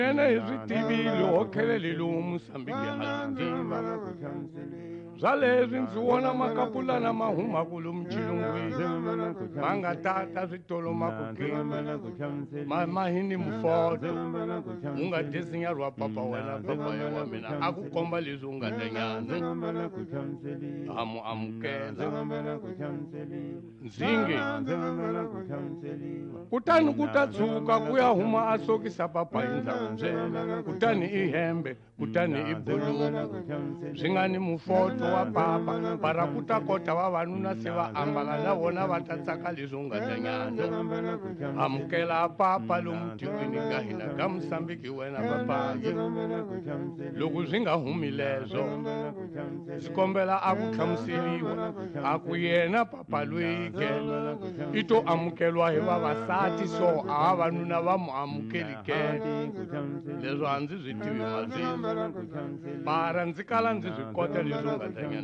Nene hi swi tivile ho khelele lowu Musambiki ha swi tiva. Swa leswi ndzi vona makapulana ma humaku lomu xilungwini ma nga tata switolo ma ku ke ma ma hi ni mufoto u nga desinyarwa papa wena papa ya wa mina a ku komba leswi u nga ta nyana ha mu amukela ndzinge kutani ku ta tshuka ku ya huma a sokisa papa hi ndza ku byela kutani i hembe kutani i buluku swi nga ni mufoto wa papa para ku ta kota vavanuna se va ambala na vona va ta tsaka leswi u nga ta nyana amukela papa lomu tikweni ka hina ka Musambiki wena papayi loko swi nga humi leswo ndzi kombela a ku hlamuseriwa a ku yena papa loyi ke i to amukelwa hi vavasati so a vavanuna va mu amukeli ke leswo a ndzi swi tivi mazwini mara ndzi kala ndzi swi kota leswi u nga ta nyana.